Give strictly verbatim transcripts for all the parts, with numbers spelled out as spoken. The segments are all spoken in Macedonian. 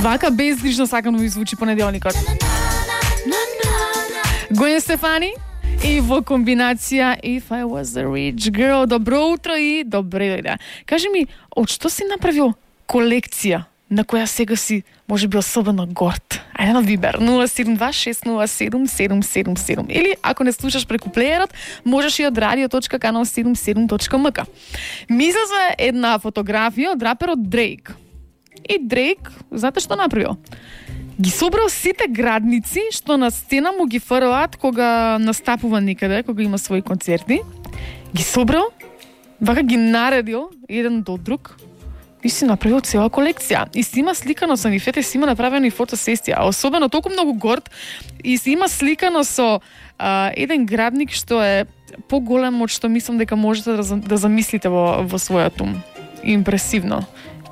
Вака безгрижно сакано ви звучи понеделникот. Гвен Стефани и во комбинација If I Was a Rich Girl. Добро утро и добре дојде. Кажи ми, од што си направил колекција на која сега си може би особено горд? Ајде на Вибер нула седум два шест нула седум седум седум седум или ако не слушаш преку плеерот, можеш и од радио точка канал седумдесет и седум точка ем ка. Ми излезе една фотографија од раперот Дрейк. И Дрейк, знаете што направил? Ги собрал сите градници што на сцена му ги фрлаат кога настапува некаде, кога има своји концерти. Ги собрал, вака ги наредил еден до друг и си направил цела колекција. И си има сликано со нив, ете си има направена и фотосесија. А особено толку многу горд и си има сликано со а, еден градник што е поголем од што мислам дека можете да, да замислите во, во својот ум. Импресивно.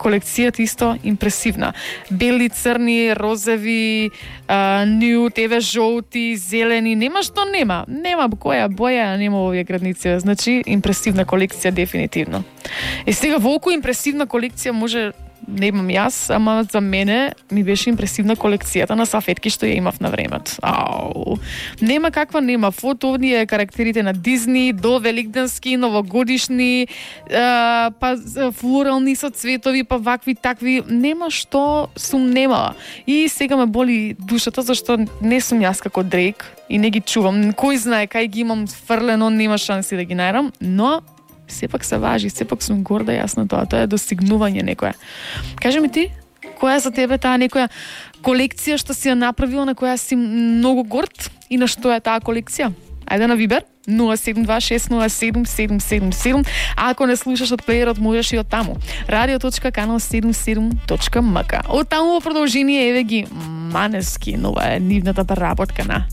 Колекцијата исто импресивна. Бели, црни, розови, а, нюд, еве жолти, зелени, нема што нема. Нема која боја нема во овие градници. Значи, импресивна колекција дефинитивно. И сега волку импресивна колекција може не имам јас, ама за мене ми беше импресивна колекцијата на сафетки што ја имав на времето. Ау. Нема каква нема. Фото овие карактерите на Дизни, до великденски, новогодишни, е, па флорални со цветови, па вакви такви. Нема што сум немала. И сега ме боли душата зашто не сум јас како Дрейк и не ги чувам. Кој знае кај ги имам фрлено, нема шанси да ги најдам, но сепак се важи, сепак сум горда јас на тоа. Тоа е достигнување некоја. Кажи ми ти, која за тебе таа некоја колекција што си ја направила, на која си многу горд и на што е таа колекција? Ајде на Вибер нула седум два шест нула седум седум седум седум. А ако не слушаш од плеерот, можеш и од таму. радио точка канал седумдесет и седум точка ем ка. Од таму во продолжение еве ги Манескин, ова е нивната преработка на